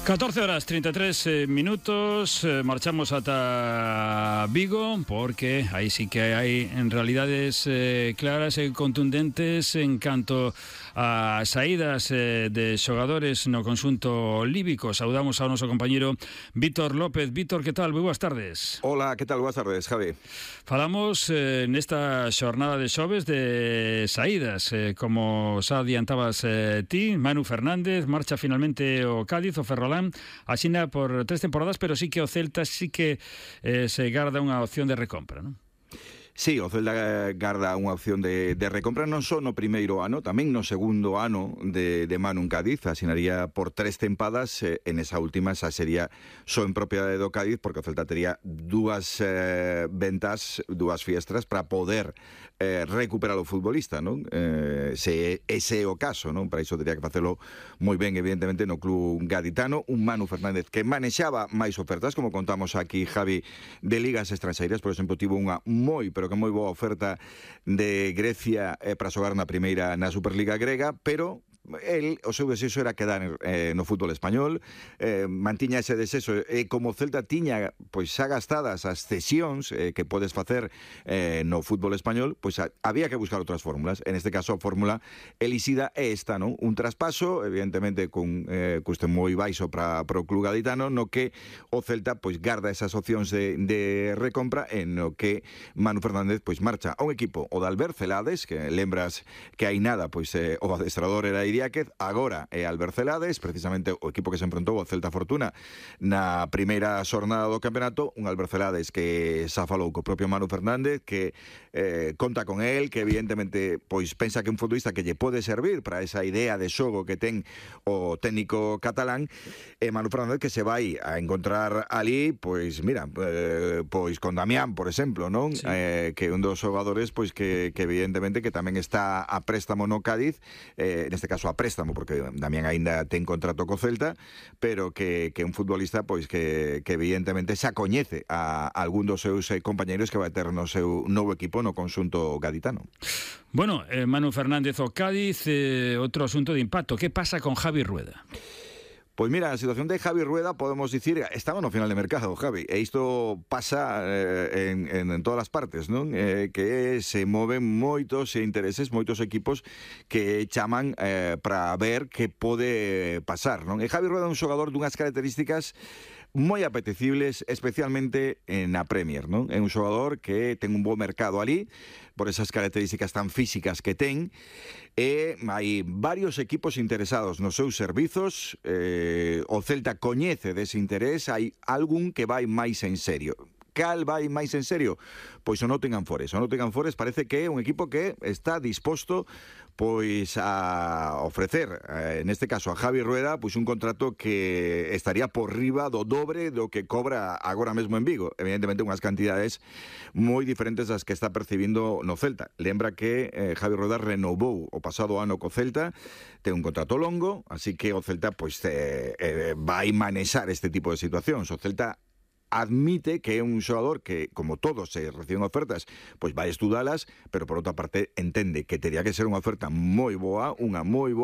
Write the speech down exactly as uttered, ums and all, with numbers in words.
catorce horas treinta e tres eh, minutos, eh, marchamos ata Vigo porque aí sí que hai en realidades eh, claras e contundentes en canto a saídas eh, de xogadores no conxunto líbico. Saudamos ao noso compañeiro Vítor López. Vítor, que tal? Moi boas tardes. Hola, que tal? Boas tardes, Javi. Falamos eh, nesta xornada de xoves de saídas, eh, como xa adiantabas eh, ti, Manu Fernández marcha finalmente o Cádiz, o Ferrolán, asina por tres temporadas, pero sí que o Celta sí que eh, se garda unha opción de recompra, non? Sí, o Celta garda unha opción de, de recompra non só no primeiro ano, tamén no segundo ano de, de Manu en Cádiz, asinaría por tres tempadas, eh, en esa última xa sería só en propiedade do Cádiz, porque o Celta tería dúas eh, ventas, dúas fiestras para poder eh, recuperar o futbolista, non? Eh, se ese é o caso, non? Para iso tería que facelo moi ben, evidentemente, no club gaditano, un Manu Fernández que manexaba máis ofertas, como contamos aquí, Javi, de ligas estranxeiras. Por exemplo, tivo unha moi, pero que moi boa oferta de Grecia eh, para xogar na primeira na Superliga grega, pero el, o seu desexo era quedar eh, no fútbol español, eh, mantiña ese desexo, e como Celta tiña pois xa gastadas as cesións eh, que podes facer eh, no fútbol español, pois a, había que buscar outras fórmulas. En este caso a fórmula elixida é esta, non? Un traspaso, evidentemente con eh, custe moi baixo para o club gaditano, no que o Celta pois garda esas opcións de, de recompra, en no que Manu Fernández pois marcha a un equipo, o de Albert Celades, que lembras que hai nada, pois eh, o adestrador era Idiáquez, agora é Albert Celades, precisamente o equipo que se enfrontou ao Celta Fortuna na primeira xornada do campeonato, un Albert Celades que xa falou co propio Manu Fernández, que eh, conta con él, que evidentemente pois pensa que un futbolista que lle pode servir para esa idea de xogo que ten o técnico catalán, e Manu Fernández que se vai a encontrar ali, pois mira, eh, pois con Damián, por exemplo, non? Sí. Eh, que un dos xogadores pois que, que evidentemente que tamén está a préstamo no Cádiz, eh, neste caso a préstamo, porque Damián aínda ten contrato co Celta, pero que, que un futbolista pois que, que evidentemente xa coñece a, a algún dos seus eh, compañeiros que vai ter no seu novo equipo no conxunto gaditano. Bueno, eh, Manu Fernández o Cádiz, eh, outro asunto de impacto. Que pasa con Javi Rueda? Pois mira, a situación de Javi Rueda, podemos dicir, estamos no final de mercado, Javi, e isto pasa eh, en, en, en todas as partes, non? Eh, que se moven moitos intereses, moitos equipos que chaman eh, para ver que pode pasar, non? E Javi Rueda é un xogador dunhas características moi apetecibles, especialmente na Premier, non? É un xogador que ten un bo mercado ali, por esas características tan físicas que ten, e hai varios equipos interesados nos seus servizos. eh, o Celta coñece dese interés, hai algún que vai máis en serio. Cal vai máis en serio? Pois o Nottingham Forest. O Nottingham Forest parece que é un equipo que está disposto pois a ofrecer, eh, neste caso a Javi Rueda, pois un contrato que estaría por riba do dobre do que cobra agora mesmo en Vigo. Evidentemente unhas cantidades moi diferentes das que está percibindo no Celta. Lembra que eh, Javi Rueda renovou o pasado ano co Celta, ten un contrato longo, así que o Celta pois eh, eh, vai manexar este tipo de situacións. O Celta admite que é un xogador que, como todos se reciben ofertas, pois vai estudalas, pero por outra parte entende que teria que ser unha oferta moi boa, unha moi boa